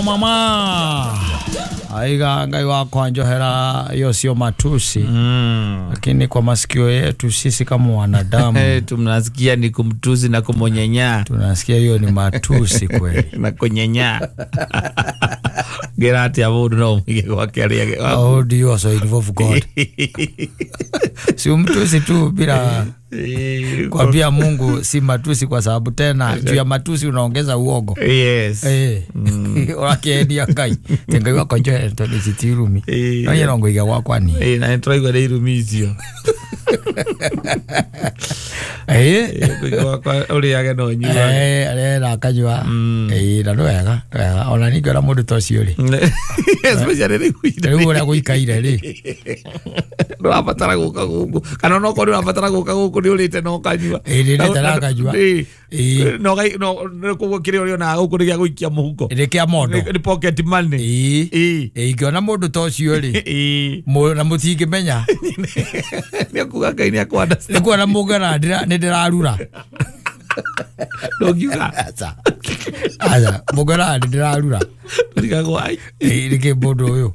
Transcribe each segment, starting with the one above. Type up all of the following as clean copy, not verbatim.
Mama aiga Ngai wakwa njohera, hiyo sio matusi, lakini kwa masikio yetu sisi kama wanadamu tunasikia ni kumtusi na kumonyenyaa. Tunasikia hiyo ni matusi kweli. Na kunyenyaa. Gerati ya mundu no mwige gwake aria. How do you also involve God? Si mtusi tu bila kwambia Mungu si matusi, kwa sababu tena juu ya matusi unaongeza uogo. Yes. Urakiendia Ngai. Ngai wakwa njohera tondu ci ti irumi. No nyene ngũiga gwakwa ni. Na nĩtũraigua nĩ irumi icio. Ngũiga gwakwa ũrĩage na ũnyuage. Arĩage na akanyua. Na nĩ wega, nĩ wega. Ona ningĩ ona mũndũ ta ũcio rĩ. Especially rĩu Rĩu ũrĩa gũikaire rĩ. Ndũrabatara gũka gũkũ. Kana onokorwo nĩ ũrabatara gũka gũkũ nĩ ũrĩte na ũkanyua. Nĩ ndĩrĩte na nganyua. No koguo kĩrĩa ũrĩonaga gũkũ nĩ gĩa gũikia mũhuko. Nĩ kĩa mondo. Nĩ pocket money. Ingĩona mũndũ ta ũcio rĩ, na mũtingĩmenya. Nĩ akuga Ngai nĩ akũ understand. Nĩ kuona mũngĩona nĩ ndĩrarura. Ndũngiuga. Aca. Aca, mũngĩona nĩ ndĩrarura. Ndirigagwo ai. Nĩkĩ mũndũ ũyũ?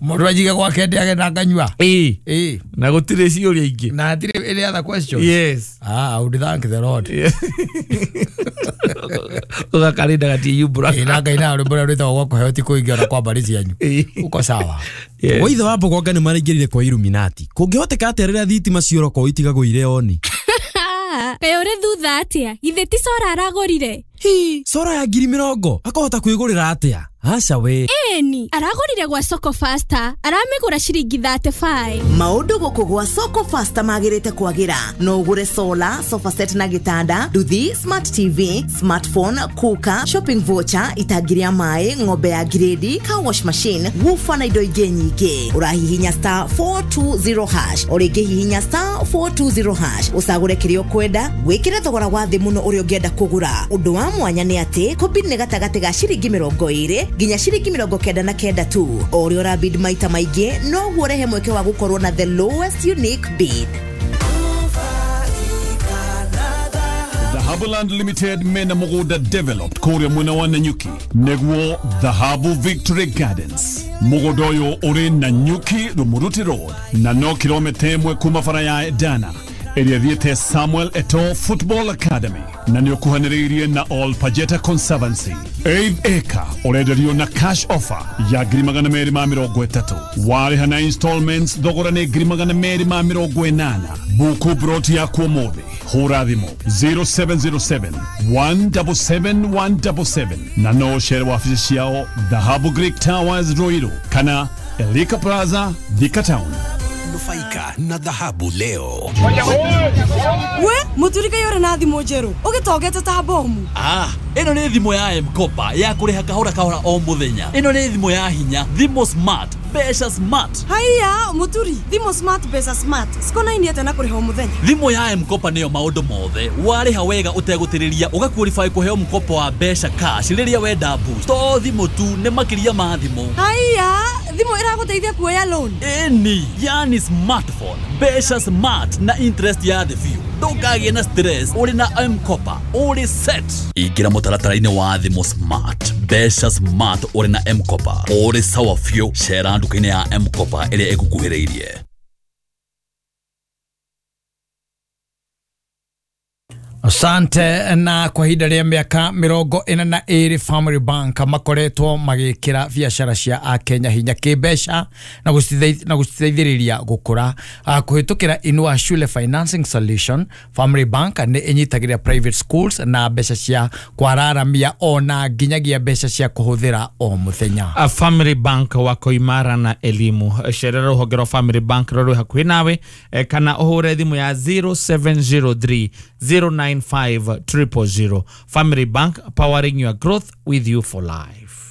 Mũndũ anjige gwake ndĩage na nganyua. Na gũtirĩ ciũria ingĩ. Na hatirĩ any other questions. Yes. I would thank the Lord. Ũgakarinda gatiyumbũra. Na Ngai na rwĩmbo rũrĩa rwĩtagwo gwa kũheo ti kũingĩ ona kwa mbarĩ cianyu. Uko sawa. Waithe wa Mbogonga nĩ maraingĩrire kwa Illuminati. Kũngĩhoteka atĩa rĩrĩa thitima ciora kwao itigagwo irĩ oni? Kaĩ ũrĩ thutha atĩa? Githĩ ti cora aragũrire? Hi, cora ya 20,000 akahota kwĩgũrĩra atĩa? Aca we. Ĩni, aragũrire gwa Soko Faster, aramĩgũra ciringi 35. Maũndũ gũkũ gwa Soko Faster magĩrĩte kwagĩra. No ũgũre solar, sofa set na gĩtanda, nduthi, smart TV, smartphone, cooker, shopping voucher, itangi rĩa maĩ, ng'ombe ya grade, car wash machine, woofer na indo ingĩ nyingĩ. Ũrahihinya star 420 hash, o rĩngĩ hihinya star 420 hash, ũcagũre kĩrĩa ũkwenda, wĩkĩre thogora wa thĩ mũno ũrĩa ũngĩenda kũgũra. Ũndũ wa mwanya nĩ atĩ kũbid nĩ gatagatĩ ga ciringi 20 nginya ciringi 99 tu. O ũrĩa ũrabid maita maingĩ noguo ũrehe mweke wa gũkorwo na the lowest unique bid. Dhahabuland Limited mena mũgũnda developed kũrĩa mwena wa Nanyuki nĩguo Dhahabu Victory Gardens. Mũgũnda ũyũ ũrĩ Nanyuki Rumuruti Road na no kilomita 1 kuma bara ya Dana ĩrĩa thiĩte Samuel Eto'o Football Academy na nĩ ũkuhanĩrĩirie na All Pajeta Conservancy. 8 acre ũrenderio na cash offer ya 230,000. Warĩha na installments thogora nĩ 280,000. Buku broti yaku ũmũthĩ. Hũra thimũ 0707 177 177 na no ũcere wabici ciao Dhahabu Greek Towers Ruiru kana Elika Plaza Thika Town. Nufaika na dhahabu leo. We, muturika yore na thimũ njerũ ũgĩtongete ta bomu. Ĩno nĩ thimũ ya M-Kopa ya kũrĩha kahora kahora o mũthenya. Ĩno nĩ thimũ ya hinya, thimũ smart, mbeca smart. Haiya, muturi, thimũ smart, mbeca smart. Cikonainie atĩa na kũrĩha o mũthenya? Thimũ ya M-Kopa nĩyo maũndũ mothe. Warĩha wega ũtegũtĩrĩria ũgaqualify kũheo mkopo wa mbeca cash rĩrĩa wenda boost. To thimũ tu, nĩ makĩria ma thimũ. Haiya, thimũ ĩragũteithia kuoya loan. Ĩni, yani smartphone, mbeca smart na interest ya thĩ biũ. Ndũkagĩe na stress ũrĩ na M-Kopa, ũrĩ set. Ingĩra mũtaratara-inĩ wa thimũ smart, mbeca smart ũrĩ na M-Kopa, ũrĩ sawa biũ. Cera nduka-inĩ ya M-Kopa ĩrĩa ĩgũkuhĩrĩirie. Asante. Na kwa ihinda rĩa mĩaka 42 Family Bank makoretwo magĩkĩra biacara cia Akenya hinya kĩmbeca na gũciteithĩrĩria gũkũra. Kũhĩtũkĩra Inua Shule Financing Solution, Family Bank nĩ ĩnyitagĩrĩra private schools na mbeca cia kwararamia ona nginyagia mbeca cia kũhũthĩra o mũthenya. Family Bank wako imara na elimu. Cerera rũhonge rwa Family Bank rũrĩ hakuhĩ nawe kana ũhũre thimũ ya 0703 095 000. Family Bank, powering your growth with you for life.